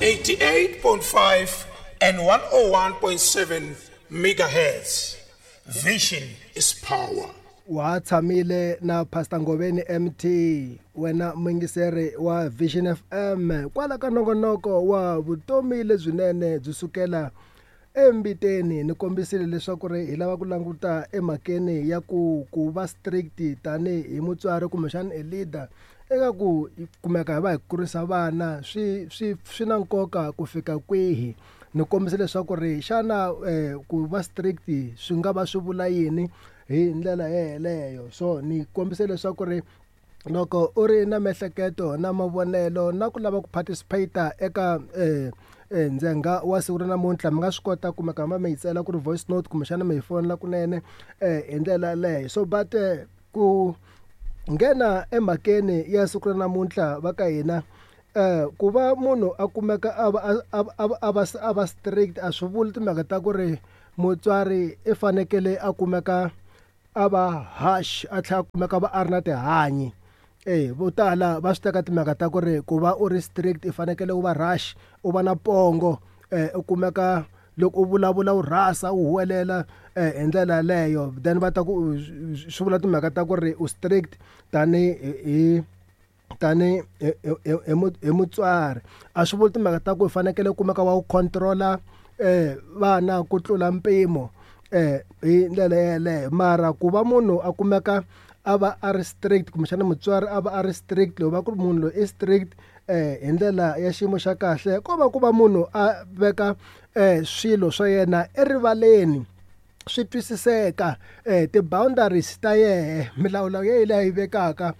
88.5 and 101.7 megahertz. Vision is power. Wa tshamile na Pastor Ngoveni MT, wena muyingiseri wa Vision FM, kwala ka nongonoko wa vutomi lebyinene byi sukela embiteni. Ni kombisile leswaku ri hi lava ku languta emhakeni ya ku va strict tanihi mutswari kumbexana a leader eka ku kumeka hi va hi kurisa vana, swi na nkoka ku fika kwihi. Ni kombisa leswaku ri xana ku va strict swi nga va swi vula yini hi ndlela yeleyo. So ni kombise leswaku ri loko u ri na miehleketo na mavonelo na ku lava ku participate eka ndzhenga wa siku ra namuntlha, mi nga swi kota kumeka mi yi tsela ku ri voice note kumbexana mi hi fonela kunene hi ndlela yaleyo. So but ku nghena emhakeni ya siku ra namuntlha va ka hina, ku va munhu a kumeka a va strict a swi vuli timhaka ta ku ri mutswari i fanekele a kumeka a va harsh, a tlhela a kumeka va a ri na tihanyi. Vo tala va swi teka timhaka ta ku ri ku va u ri strict i fanekele u va rush, u va na pongo, u kumeka loko u vulavula u rhasa, u huwelela hi ndlela yaleyo, then va ta ku swi vula timhaka ta ku ri u strict tani hi mutswari. A swi vuli timhaka ta ku u fanekele u kumeka wa ku control-a vana ku tlula mpimo hi ndlela yeleyo. Mara ku va munhu a kumeka a va a ri strict kumbexana mutswari a va a ri strict, loko va ku ri munhu loyi i strict hi ndlela ya xiyimo xa kahle, ko va ku va munhu a veka swilo swa yena erivaleni, swi twisiseka, ti-boundaries ta yehe, milawu ya yena leyi a yi vekaka,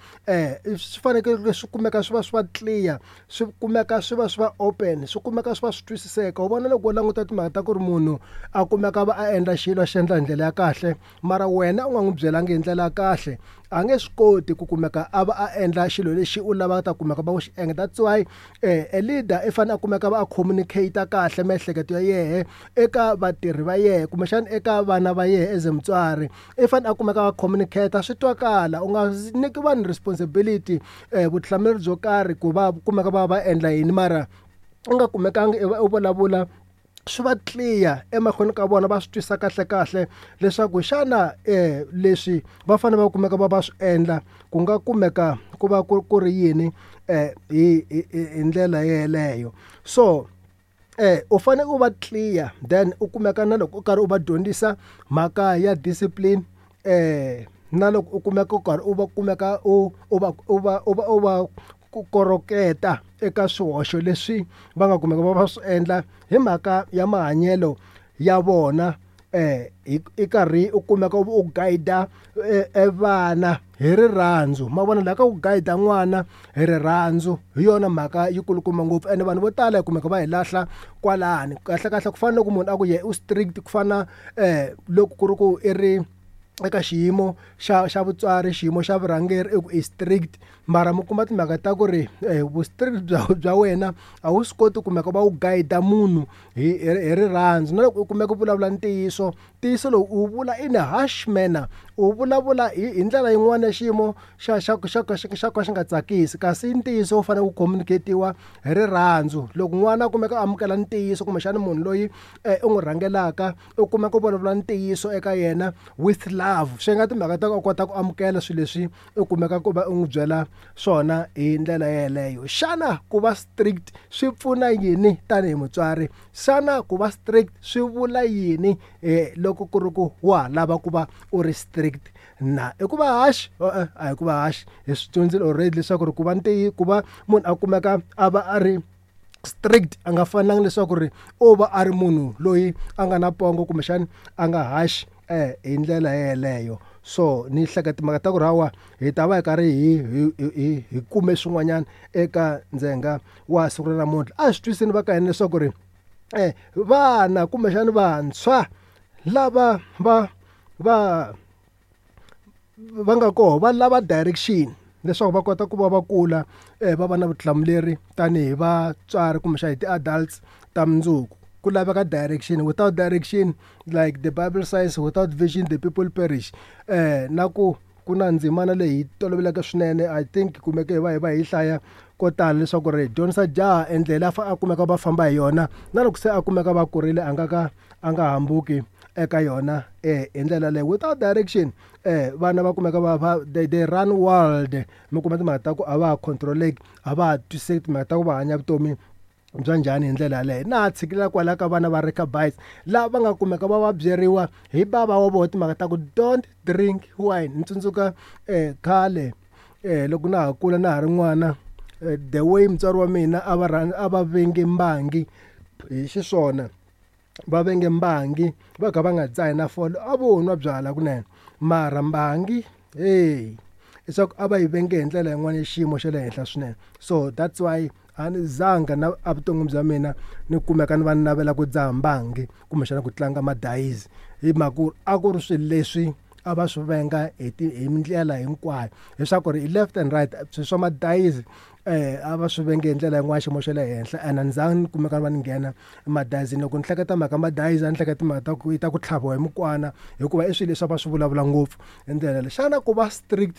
swi fanekele swi kumeka swi va swi va clear, swi kumeka swi va swi va open, swi kumeka swi va swi twisiseka. U vona loko u languta timhaka ta ku ri munhu a kumeka va a endla xilo a xi endla hi ndlela ya kahle, mara wena u nga n'wi byelangi hi ndlela ya kahle, a nge swi koti ku kumeka a va a endla xilo lexi u lavaka ta kumeka va ku xi endla. That's why a leader i fanele a kumeka va a communicate kahle miehleketo ya yehe eka vatirhi va yehe kumbexana eka vana va yehe as mutswari. I fanele a kumeka va communicate swi twakala, u nga nyiki vanhu responsibility, vutihlamuleri byo karhi ku va kumeka va va endla yini, mara u nga kumekangi u vulavula swi va clear emahlweni ka vona, va swi twisa kahle kahle leswaku xana leswi va fanele va kumeka va va swi endla ku nga kumeka ku va ku ri yini hi ndlela yeleyo. So u fanele u va clear, then u kumeka na loko u karhi u va dyondzisa mhaka ya discipline, na loko u kumeka u karhi u va kumeka u u va u va u va u va ku koroketa eka swihoxo leswi va nga kumeka va va swi endla hi mhaka ya mahanyelo ya vona, i karhi u kumeka u guide vana hi rirhandzu. Ma vona laha ka ku guide n'wana hi rirhandzu hi yona mhaka yi kulukumba ngopfu, ene vanhu vo tala hi kumeka va hi lahla kwalani. Kahle kahle ku fana loko munhu a ku ye u strict, ku fana loko ku ri ku i ri eka xiyimo xa vutswari, xiyimo xa vurhangeri, i ku i strict, mara mi kuma timhaka ta ku ri vu strict bya wena a wu swi koti kumeka va wu guide munhu hi rirhandzu. Na loko u kumeka u vulavula ntiyiso, ntiyiso lowu u vula in a harsh manner, u vulavula hi ndlela yin'wana ya xiyimo xa ka xi nga tsakisi, kasi ntiyiso wu fanele wu communicate-iwa hi rirhandzu. Loko n'wana a kumeka a amukela ntiyiso kumbexana munhu loyi u n'wi rhangelaka u kumeka u vulavula ntiyiso eka yena with love, swi nga timhaka ta ku a kota ku amukela swilo leswi u kumeka ku va u n'wi byela swona hi ndlela yeleyo. Xana ku va strict swi pfuna yini tanihi mutswari? Xana ku va strict swi vula yini loko ku ri ku wa ha lava ku va u ri strict na? I ku va harsh? A hi ku va harsh. Hi swi dyondzile already leswaku ri ku va ku va munhu a kumeka a va a ri strict a nga fanelanga leswaku ri u va a ri munhu loyi a nga na pongo kumbexana a nga harsh hi ndlela yeleyo. So ni hleketa timhaka ta ku hawa hi ta va hi karhi hi kume swin'wanyana eka ndzhenga wa siku ra namuntlha. A hi swi twisiseni va ka hina leswaku ri vana kumbexana vantshwa lava va va nga koho va lava direction leswaku va kota ku va va kula, va va na vutihlamuleri tanihi vatswari kumbexana hi ti-adults ta mundzuku. Ku laveka direction. Without direction, like the Bible says, without vision the people perish. Na ku Ku na ndzimana leyi toloveleke swinene, I think kumeke hi va hi va hi hlaya ko tala, leswaku ri dyondzisa jaha endlela a kumeka va famba hi yona, na loko se a kumeka va kurile a nga ka a nga hambuki eka yona. Hi ndlela leyi, without direction, vana va kumeka va they run wild. Mi kuma timhaka ta ku a va ha controleki, a va ha twisisi timhaka ta ku va hanya vutomi bya njhani. Hi ndlela yaleyo, na ha tshikilela kwala ka vana va Rechabites lava va nga kumeka va va byeriwa hi bava wa vona timhaka ta ku don't drink wine. Ni tsundzuka khale, loko na ha kula, na ha ri n'wana, the way mutswari wa mina a va a va venge mbangi hi xiswona, va venge mbangi, va kha va nga dzahi na fole, a vo nwa byala kunene, mara mbangi, hey, leswaku a va yi venge hi ndlela yin'wana ya xiyimo xa le henhla swinene. So that's why a ni zanga na evuton'wini bya mina ni kumeka ni va ni navela ku dzaha mbangi kumbexana ku tlanga madayizi, hi mhaka ku a ku ri swilo leswi a va swi venga hi ndlela hinkwayo, leswaku ri left and right swilo swa madayizi, a va swi venge hi ndlela yin'wana xiyimo xa le henhla. And a ni zanga ni kumeka ni va ni nghena emadayizini. Loko ni hleketa mhaka madayizi, a ni hleketa timhaka ta ku yi ta ku tlhaviwa hi mukwana, hikuva i swilo leswi a va swi vulavula ngopfu hi ndlela leyi. Xana ku va strict